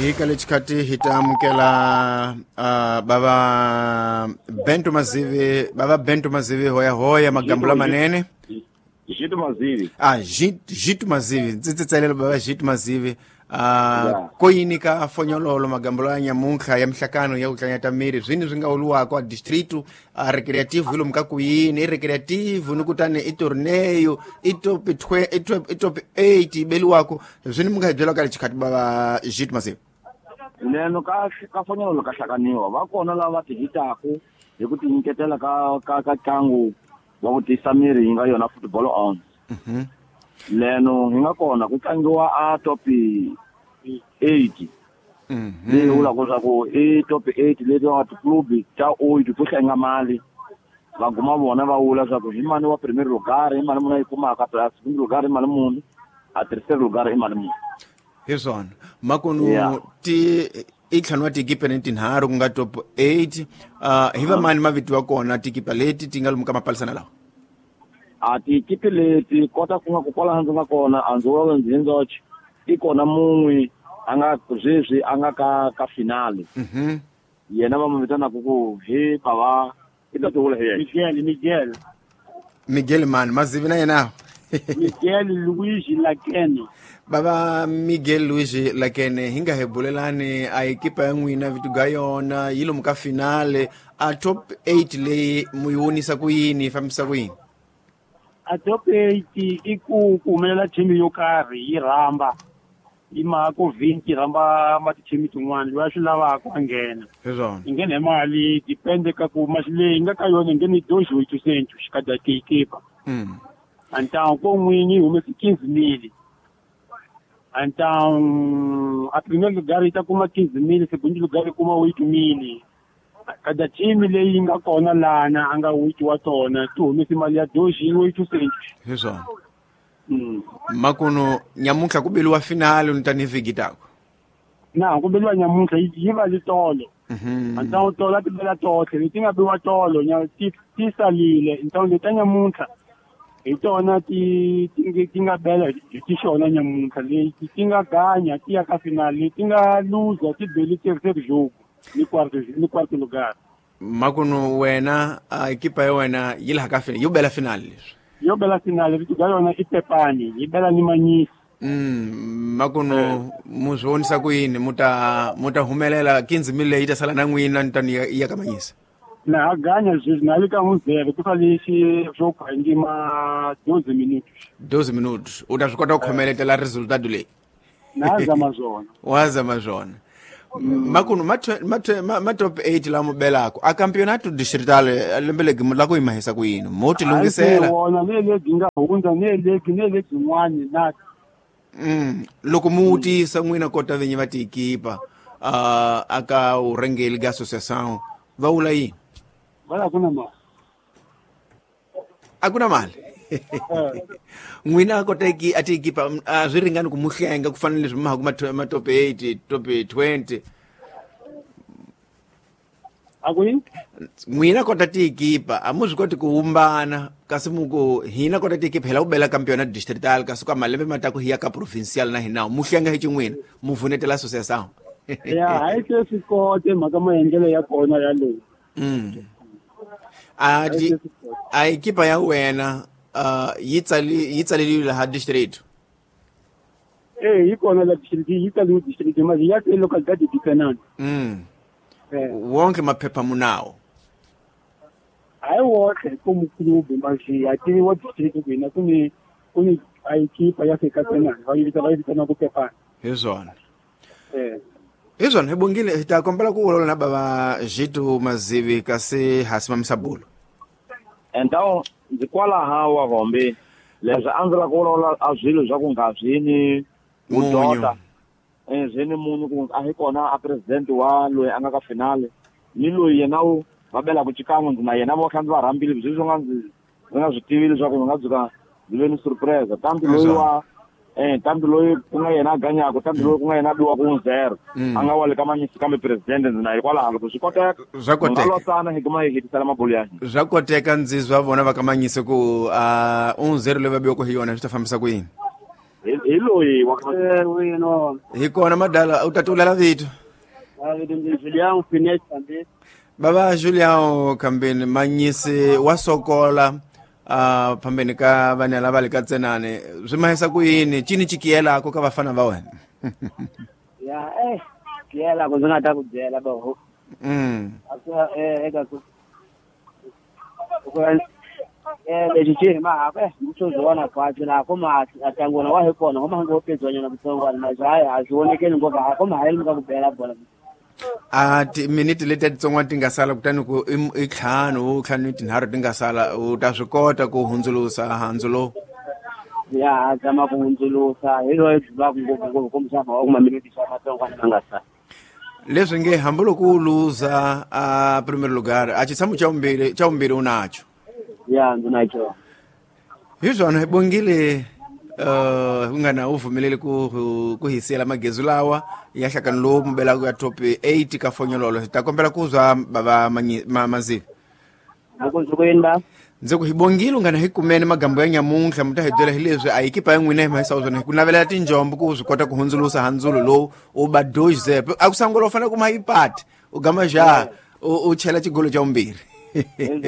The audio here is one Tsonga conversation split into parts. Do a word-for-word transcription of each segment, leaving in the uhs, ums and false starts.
Hi ka lexikhathi hi ta amukela uh, bava Bento Mazivi, bava Bento Mazivi hoya hoya magambula manene. Jito Mazivi. Ah, Jito Mazivi, ndzi tsetselela bava Jito Mazivi. Uh, koyini ka fonyololo magambulo ya nyamuntlha ya mihlakano ya ku tlanyata miri zwini swi nga uluwako a distrito a recreativo hi lomu ka kuyini i recreativo ni kutani i torneio i top i top i top eight yi beliwako zwini mi nga hi byelaka lexikhathi bava Jito Mazivi. Neno ka ka fonyololo ka hlakaniwa va kona lava va tihitaku hi ku tinyiketela ka ka ka ntlangu wa ku tiyisa miri yi nga yona football on. Mhm. Leno hi nga kona ku tlangiwa a top eight. Mhm. Leyi vulaka leswaku i top eight leti va tiklubi ta oito to hlenga mali va guma vona va vula leswaku hi mani wa premier lugar, hi mali muni a yi kumaka, plus segundo lugar i mali muni, a terceiro lugar i mali muni. Hi swona makunu Yeah. ti i ntlhanu wa tikipa ni tinharhu ku nga top eight. uh, hi va mani mavito ya kona tikipa leti ti nga lomu ka mapalisana lawa? A tikipi leti kota ku nga ku kwalaho ndzi nga kona a ndzi vulavula ndzi ndzoxe i kona mun'we a nga sweswi a nga ka ka finale. Mhm. Yena va n'wi vitanaka ku hi bava i ta tivula hi yena. Miguel, Miguel. Miguel mani Mazivi na yena. Miguel Luigi Lakene. Bava Miguel Luigi Lakene hi nga hi bulelani a ekipa ya n'wina vito ga yona yi lomu ka finale a top eight leyi mu yi vonisa ku yini yi fambisa ku yini? A top eight i ku ku humelela team yo karhi yi rhamba yi maka ku vhinki rhamba ma ti-team tin'wana loyi a swi lavaka a nghena. Hi swona. Yi nghena hi mali depende ka ku masi leyi yi nga ka yona yi nghene dois oitocentos cada equipa. Mm. Então ko n'winyi yi humese quinze mil. Então a primeiro lugar yi ta kuma quinze mil, segundo lugar yi kuma oito mil. Cada team leyi yi nga kona lana a nga oito wa tona ti humese mali ya dois oitocentos. Hi swona. Mm. Makunu nyamuntlha ku beliwa finale ni tani vhiki tako. Na ku beliwa nyamuntlha yi yi va li tolo. Mhm. Então tolo a ti bela tohle leti nga biwa tolo nya ti ti salile. Então leti ta nyamuntlha hi tona ti ti ti nga bela hi ti xona nyamuntlha leti ti nga ganya ti ya ka finale leti nga luza ti beli terceiro jogo ni quarto ni quarto lugar. Makunu wena a ekipa ya wena yi laha ka finale yo bela finale leswi. Yo bela finale vito ga yona i Pepani yi bela ni Manyisi. Mm, makunu mu swi vonisa ku yini mu ta mu ta humelela quinze mil leyi yi ta sala na n'wina ni tani ya ka Manyisi. Na ha ganya sweswi na le ka muzere ku sale xi swo khangima doze minutos. doze minutos u ta swi kota ku khomeletela resultado leyi. Na zama swona. Wa zama swona. Makunu ma ma ma top eight la mu belako a campeonato distrital lembe legi mu la ku yi mahisa ku yini mo ti lunghisela. Wona ne legi nga hundza ne legi ne legi yin'wani na. Mm, loko mu wutisa n'wina kota vinyi va tiekipa uh, aka urhengeli ga associação va vula yini? Va la ku na mali. A ku na mali. N'wina kota ki a tiekipa a swi ringani ku mu hlenga ku fana na leswi mi haku ma top eight top twenty. A ku yini? N'wina kota tiekipa a mu swi koti ku humbana kasi mu ku hina kota tiekipa hi lava ku bela campeonato distrital kasi ka malembe ma ta ku hi ya ka provincial na hina mu hlenga hi xin'wina mu vunetela associação. Ya hayi se swi kote mhaka maendlelo ya kona yaleyo. Mm. A ti a ekipa ya wena uh yi tsali yi tsaleliwe laha district. Eh yi kona la district yi tsaliwe district mali ya ke localidade de Canaan. Mm. Wonke maphepha munawo. Hayi wonke ku club manje ya tiviwa district ku hina ku ni ku ni a ekipa ya ke ka Canaan va yi vita va yi vitana ku Pepani. Hi swona. Eh. Hi swona hi bongile hi ta kombela ku vulavula na bava Jito Mazivi kasi ha simamisa bulo. Então ndzi kwalaha wa Hombe leswi a ndzi lava ku vulavula a swilo swa ku nga swi ni vudota eh swi ni munyu ku a hi kona a president wa loyi a nga ka finale ni loyi yena wu va belaka xikan'we ndzi na yena vo kha ndzi va rhambile sweswi nga ndzi ndzi nga swi tivi leswaku ndzi nga tshuka ndzi ve ni surprise tanti loyi wa eh tanti loyi ku nga yena a ganyaka tanti loyi ku nga yena a biwaka un zero a nga wa le ka Manyisi kambe president ndzi na hikwalaho loko swi koteka swa koteka losana hi kuma hi hetisela mabulu ya hina swa koteka ndzi zwa vona va ka Manyisi ku uh un zero leyi va biwaka hi yona swi ta fambisa ku yini. Hi loyi wa Eh wino. Hi kona madala u tatulela vito. Ah vito ndi Julian Finet Kambeni. Baba Julian Kambeni manyisi wa sokola uh phambeni ka vana lava le ka tsenane swi mahisa ku yini cini chikiyelako ka vafana va wena? Ya eh kiyela ku ndzi nga ta ku byela ba ho. Mm. Aka eh eka ku ku eh lexi xi hi mahaka eh swo zona kwazi la ko ma atangona wa hi kona ngoma ngo pedzwanyana kutsongwana na hayi a swi vonekeli ngopfu ha ko ma hayeli ka ku bela bola. A timiniti leti titsongwana ti nga sala kutani ku i ntlhanu ntlhanu tinharhu ti nga sala u ta swi kota ku hundzulusa handzu lowu? Ya zama ku hundzulusa hi loyi byi va ngopfu ngopfu kumbexana wa kuma miniti xa matsongwana ma nga sala. Leswi nge hambi loko u luza a primeiro lugar a xitshamo xa vumbirhi xa vumbirhi u nacho. Ya ndzi na xona. Hi swona hi bongile uh nga na u vumelele ku ku hi siyela magezu lawa ya hlakano lowu mubelaka ya top eight ka fonyololo. Hi ta kombela ku zwa bava Mazivi. Loko ndzi ku yini ba? Ndzi ku hi bongile u nga na hi kumene magambo ya nyamuntlha mi ta hi byela hi leswi a ekipa ya n'wina hi mahisa swona hi ku navelela tinjombo ku swi kota ku hundzulusa handzulo lowu u ba dois zero. A ku sangula u fanele ku ma ipati u gama ja u chela xigolo xa vumbirhi. Hi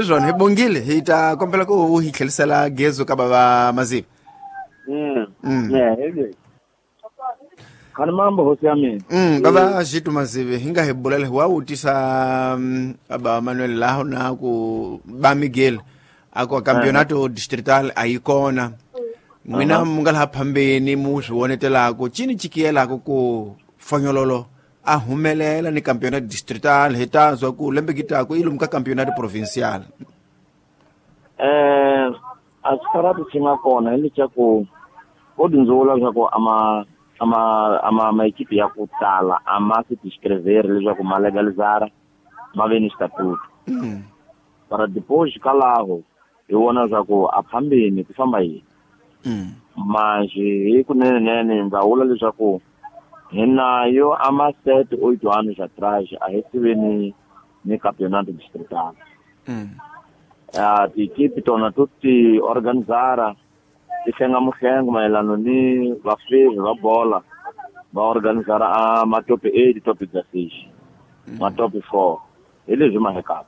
swona hi bongile hi ta kombela ku u hi tlhelisela gezo ka bava Mazivi. Mm. Khani mambo hosi ya mina. Mm, baba Jitu Mazivi hi nga hi bulela hi wa wutisa aba Manuel laho na ku ba Miguel a ku campeonato distrital a yi kona. N'wina mu nga laha phambeni mu swi vonetelako cini chikiyelako ku fonyololo a humelela ni campeonato distrital hi ta zwa ku lembe kitako i lomu ka campeonato provincial. Eh a swi xi nga kona hi leswaku vo dyindzula leswaku ama ama ama maekipi ya ku tala a ma se tiscreveri leswaku ma legalizara ma ve ni xitatuto. Para depois kalaho hi vona leswaku a phambeni ku famba yini. Manjhe hi kunenenene ndza vula leswaku hi nayo a ma sete oito anos atrás a hi tive ni ni campeonato distrital. A tiekipe tona to ti organizara ti hlenga muhlengo mayelana ni vafevi va bola va organizara a ma top eight, top dezesseis, ma top four hi leswi ma hekaka.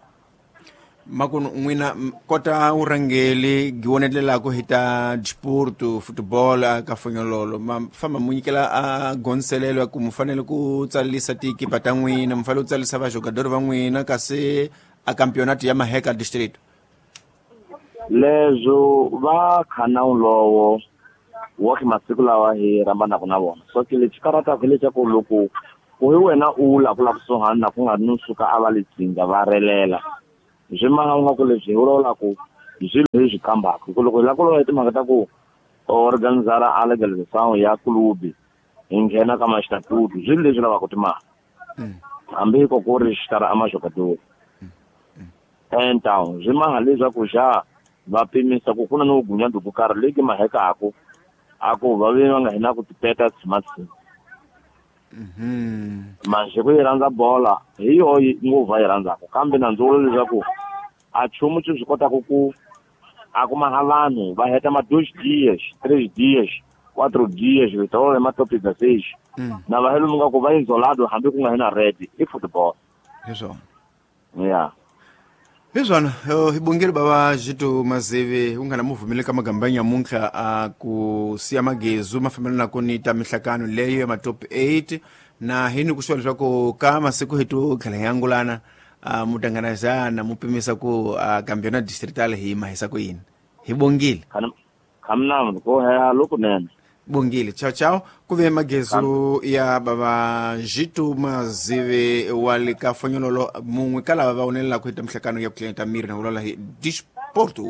Makunu n'wina kota urhangeli giwonetelako hi ta disporto football ka fonyololo ma famba mu nyikela a gonselelo ya ku mu fanele ku tsalisa tiekipa ta n'wina mu fanele ku tsalisa vajogadori va n'wina kasi a campeonato ya maheka district. Leswo va khana lowo wa ki masiku lawa hi rhambanaka na vona so ke lexi karataka hi leswaku loko ku hi wena u la ku la kusuhani na ku nga ri no suka a va le tsinga va relela swi maha nga ku leswi hi vulavulaka hi swilo hi swi kambaka hi ku loko hi lava ku vulavula hi timhaka ta ku organizara a legalization ya club hi nghena ka maxitatutu swilo leswi lavaka timali hambi ko ku ri xitara a majogadori então swi maha leswaku xa va pimisa ku ku na no gunyando ku karhi leyi mahekaku a ku va ve va nga hina ku tipeta smartphone. Manjhe ku yi rhandza bola hi yo ngopfu va yi rhandzaka kambe na ndzi vula leswaku a nchumu xi swi kotaka ku a kuma ha vanhu va heta ma dois dias três dias quatro dias vitolo ma top dezesseis na va helo nga ku va isolado hambi ku nga hina red i football. Hi swona. Yeah. Hi swona hi bongile bava Jitu Mazivi u nga na mu vumele ka magamba ya nyamuntlha a ku siya magezu ma fambelanaka ni ta mihlakano leyo ya ma top eight na hi ni ku swa leswaku ka masiku hi to tlhela hi angulana mutanganazana mu pimisa ku campeonato distrital hi mahisa ku yini. Hi bongile. Khamnam ko ha lokunene. Bongile. Ciao ciao. Ku ve magezu ya bava Jitu Mazivi wa le ka fonyololo mun'we ka lava va vonelelaka hi ta mihlakano ya ku tlhela ta miri na vulavula hi disporto.